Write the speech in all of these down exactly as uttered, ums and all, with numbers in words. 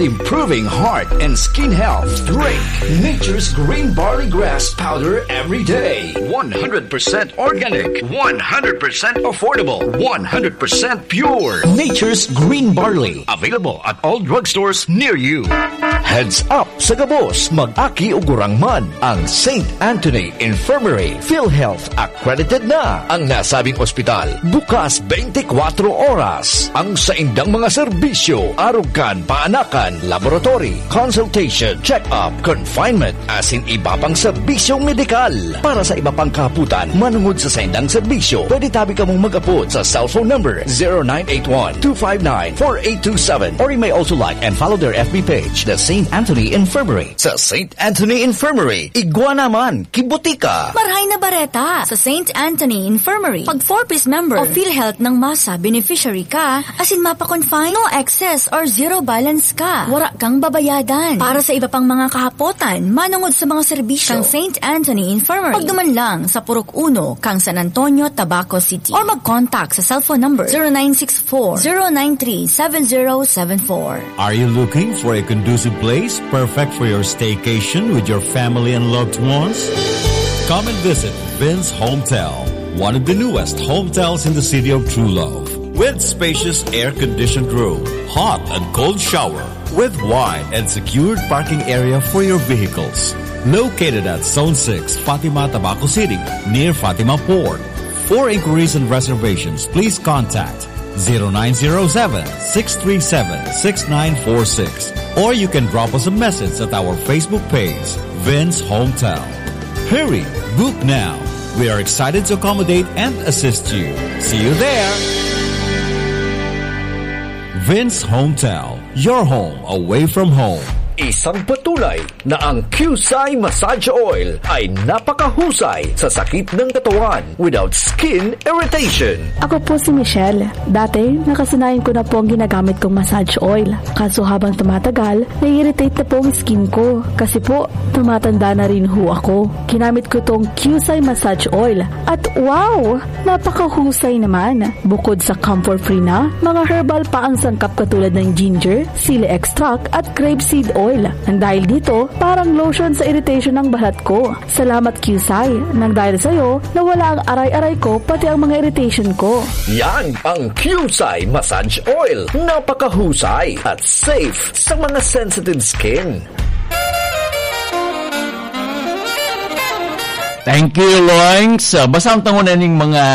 Improving heart and skin health. Drink Nature's Green Barley Grass Powder every day. One hundred percent organic, one hundred percent affordable, one hundred percent pure. Nature's Green Barley. Available at all drugstores near you. Heads up sa gabos, mag-aki o gurang man. Ang Saint Anthony Infirmary, PhilHealth accredited na. Ang nasabing ospital, bukas twenty-four oras. Ang saindang mga serbisyo, arog kan, paanakan, laboratory, consultation, check-up, confinement, asin iba pang serbisyong medikal. Para sa iba pang kahapotan, manungod sa saindang serbisyo, pwede tabi kamong mag-apod sa cellphone number zero nine eight one, two five nine, four eight two seven, or you may also like and follow their F B page, The Saint Anthony Infirmary. Sa Saint Anthony Infirmary, igwa naman, kibutika. Marhay na bareta! Sa Saint Anthony Infirmary, pag four Ps member o PhilHealth ng masa, beneficiary ka, asin mapa-confine, no excess or zero balance ka. Wara kang babayadan. Para sa iba pang mga kahapotan, manungod sa mga serbisyo kan Saint Anthony Infirmary, pagduman lang sa Purok Uno, kan San Antonio, Tabaco City. Or mag-contact sa cellphone number zero nine six four, zero nine three, seven zero seven four. Are you looking for a conducive place perfect for your staycation with your family and loved ones? Come and visit Vince Hometel, one of the newest hotels in the city of True Love, with spacious air-conditioned room, hot and cold shower, with wide and secured parking area for your vehicles. Located at Zone six, Fatima, Tabaco City, near Fatima Port. For inquiries and reservations, please contact zero nine zero seven, six three seven, six nine four six, or you can drop us a message at our Facebook page, Vince Hometel. Hurry, book now. We are excited to accommodate and assist you. See you there. Vince Hometel, your home away from home. Isang patunay na ang Qcye Massage Oil ay napakahusay sa sakit ng katawan without skin irritation. Ako po si Michelle. Dati, nakasanayan ko na po ang ginagamit kong massage oil. Kaso habang tumatagal, nai-irritate na po ang skin ko. Kasi po, tumatanda na rin ho ako. Ginamit ko tong Qcye Massage Oil. At wow! Napakahusay naman! Bukod sa camphor-free na, mga herbal pa ang sangkap katulad ng ginger, sili extract at grape seed oil. Nang dahil dito, parang lotion sa irritation ng balat ko. Salamat, Qcye. Nang dahil sa'yo, nawala ang aray-aray ko, pati ang mga irritation ko. Yan ang Qcye Massage Oil. Napakahusay at safe sa mga sensitive skin. Thank you, Loings. So, basahon ta nguna ning mga,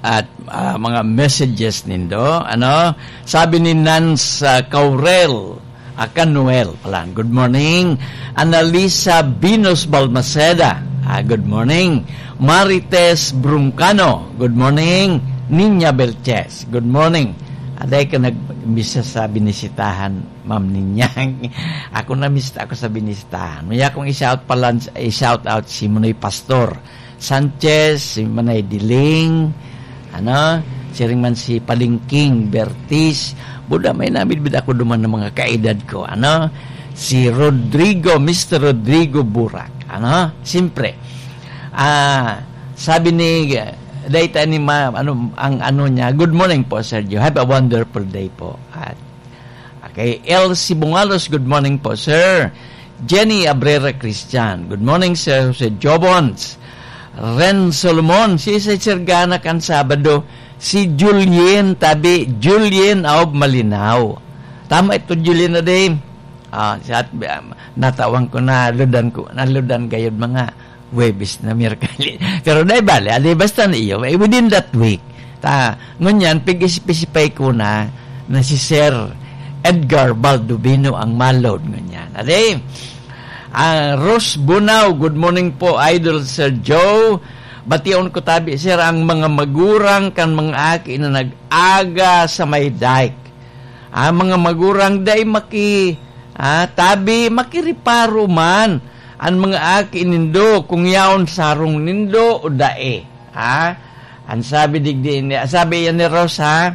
at, ah, mga messages nindo. Ano? Sabi ni Nance, ah, Caurel, ah, Canuel pala. Good morning. Annalisa Venus Balmaceda. Ah, good morning. Marites Bruncano. Good morning. Niña Belches. Good morning. Aday ka nag-, misa sa binisitahan, Ma'am Niña. Ako na mista ako sa binisitahan. Maya kong i-shout pala, i-shout out si Munoy Pastor Sanchez, si Manay Diling, ano, siring man si Palingking Bertis. Buda, may namidbid ako duman ng mga kaedad ko, ano, si Rodrigo, Mister Rodrigo Burak, ano, siyempre. Ah, sabi ni, dahil ni ma-, ano, ang ano niya, "Good morning po, Sergio. Have a wonderful day po." At Okay, Elsie Bungalos, good morning po, sir. Jenny Abrera Christian, good morning, sir. Jose Jobons, Ren Solomon, si Sir Gana kan Sabado, si Julien, tabi, Julien of Malinao. Tama ito, Julien, na din. Ah, sa, um, natawan ko na, ludan ko, naludan gayod mga Huwebes na, Miyerkules. Pero dai bale, adi basta na iyo, eh, within that week. Ta, ngunyan, pig-isip-isipay ko na, na si Sir Edgar Baldovino ang malod ngunyan. Adi, ah, Rose Bunao, good morning po, Idol Sir Joe. Bation ko tabi, sir, ang mga magurang kan mga aki na nag-aga sa may dike. Ang mga magurang dai maki-, ah, tabi, makiriparo man an mga aki nindo kung yaon sarong nindo o dai. Ah, an sabi digdi, sabi yan ni Rosa,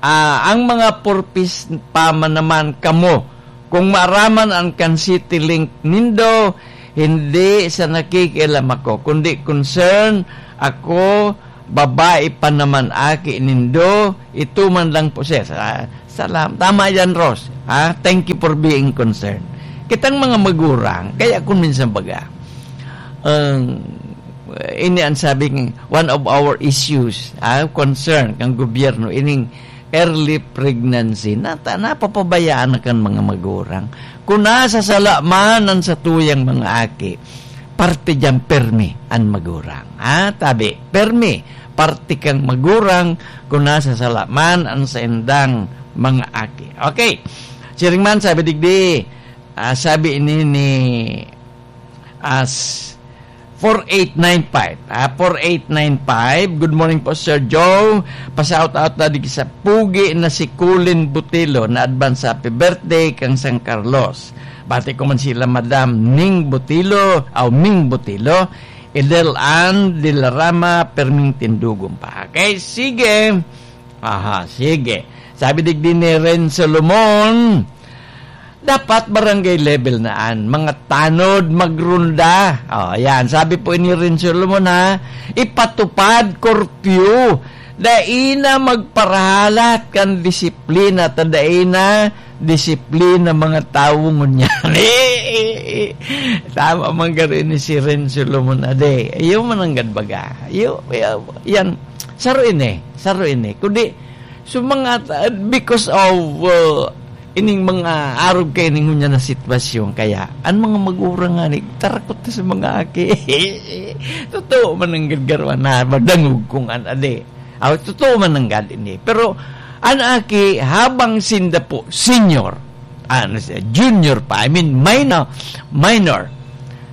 ah, ang mga purpose pa man naman kamo. Kung maaraman an kan City Link nindo, hindi sa nakikialam ako, kundi concern ako, babae pa naman aki nindo, ito man lang po, sir. Ah, Salam-, tama yan, Ros. Ha? Thank you for being concerned. Kitang mga magurang, kaya kung minsan baga, ang, ini ang sabing, one of our issues, ha, concern kan gobyerno, ining early pregnancy, nata-, napapabayaan na kan mga magurang. Kung nasa sala man ang satuyang mga aki, parte diyan permi an magurang. Ha? Tabi, permi, parte kang magurang kung nasa sala man ang saindang mga aki. Okay. Siring man, sabi digdi, ah, sabi ini ni, as four eight nine five. Ah, four eight nine five. Good morning po, Sir Joe. Pa-shout out na digdi sa pugi na si Colin Butilo na advance happy birthday kang San Carlos. Bati ko man sila Madam Ning Butilo, aw Ming Butilo, Edel Ann de la Rama, Perming Tindugong pa. Okay, sige. Aha, sige. Sabi digdi ni Ren Solomon, dapat barangay level na an mga tanod magrunda. Oh, yan. Sabi po ni Ren Solomon, ha, ipatupad curfew. Dai na magparahalat kan disiplina, ta dai na disiplina mga tawo ngunyan. Tama man garo ini si Ren Solomon, ade. Iyo man nanggad baga. Iyo, iyo, yan. Saro ini, saro ini. Kundi, so mga, because of, uh, ining mga arog kay ning ngunyan na sitwasyon, kaya an mga magurang nga ni, tarakot na sa mga aki. Totoo man nanggad garo na, madangog kung an ade. Aw, totoo man nanggad ini. Pero, an aki, habang sinda po, senior, ano siya, junior pa, I mean, minor, minor,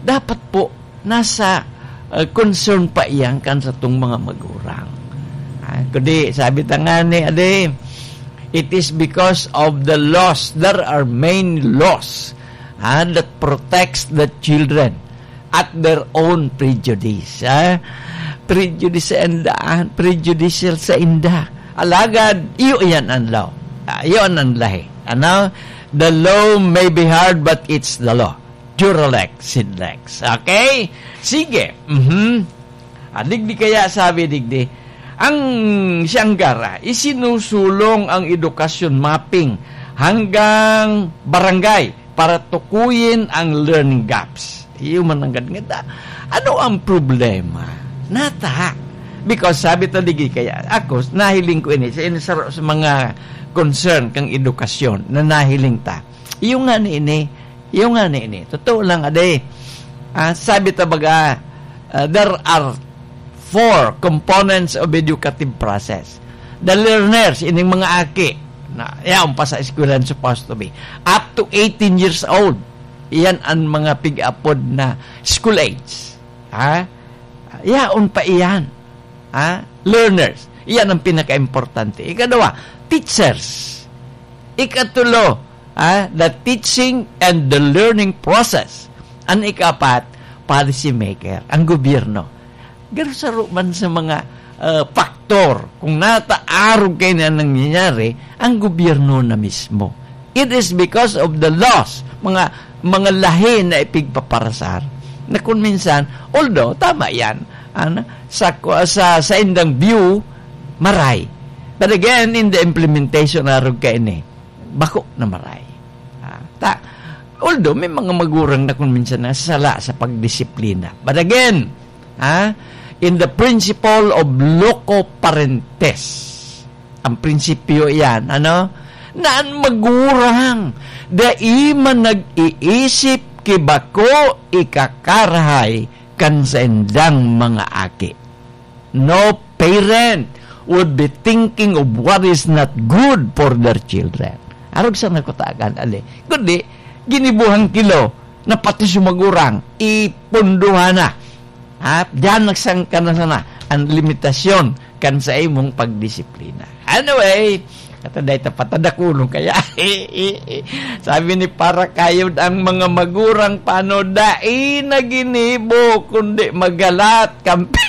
dapat po, nasa, uh, concern pa iyan kan satong mga magurang. Ah, kundi, sabi ta nga ni, ade, it is because of the laws. There are many laws, ah, that protects the children at their own prejudice, ah. Prejudice sa inda, ah, prejudicial sa inda. Alagad, iyo iyan ang law. Ah, iyo ang lahi. Ano? The law may be hard, but it's the law. Duralek, Sidlex. Okay? Sige. Mhm. Ah, digdi kaya sabi digdi, ang Sianggara, isinusulong ang edukasyon mapping hanggang barangay para tukuyin ang learning gaps. Iyo man nanggad nga ta. Ano ang problema? Nata. Because sabi ta digdi kaya, ako, nahiling ko ini, sa, ini sa, sa mga concern kang edukasyon na nahiling ta. Iyo nga ni ini, iyo nga ni ini. Totoo lang, ade. Ah, sabi ta baga, ah, there are four components of educative process. The learners, ining mga aki, na yaon pa sa eskwelahan supposed to be, up to eighteen years old. Iyan ang mga pig-apod na school age. Ha? Yaon pa iyan. Ha? Learners. Iyan ang pinaka-importante. Ikadua, teachers. Ikatulo, ha? The teaching and the learning process. Ang ikapat, policy maker, ang gobyerno. Pero saro man sa mga, ah, faktor, kung nataarog kayo na nangyayari, ang gobyerno na mismo. It is because of the laws, mga, mga lahi na ipigpaparasar, na kung minsan, although, tama yan, ano, sa, sa, sa indang view, maray. But again, in the implementation, arog ka ini, bako na maray. Ah, ta, although, may mga magurang na kung minsan nasasala sa pagdisiplina. But again, ha, in the principle of loco parentis, ang prinsipyo iyan, ano? Na an magurang dai man nag-iisip ki bako ikakarahay kan saindang mga aki. No parent would be thinking of what is not good for their children. Arog sa nakutagan, ali. Kundi, ginibuhang kilo na pati sa magurang, ipunduhan na. Ha? Diyan nagsangka na sana ang limitasyon kan sa imong pagdisiplina. Anyway, ato dahil tapatadakulong kaya. Sabi ni Para Kayod, ang mga magurang pano dai na ginibo, kundi magalat, kampi.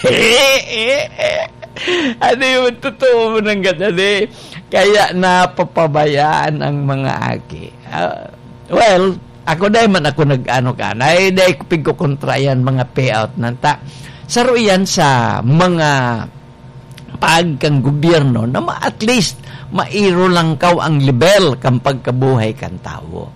Ano yun? Totoo mo nang ganda, di? Kaya napapabayaan ang mga aki. Ah, well, ako dai man ako nag-ano ka, dai, dai ko pigkukontra yan, mga payout nanta. Saro yan sa mga pag kan gobyerno na ma-, at least mairolangkaw ang level kan pagkabuhay kan tawo.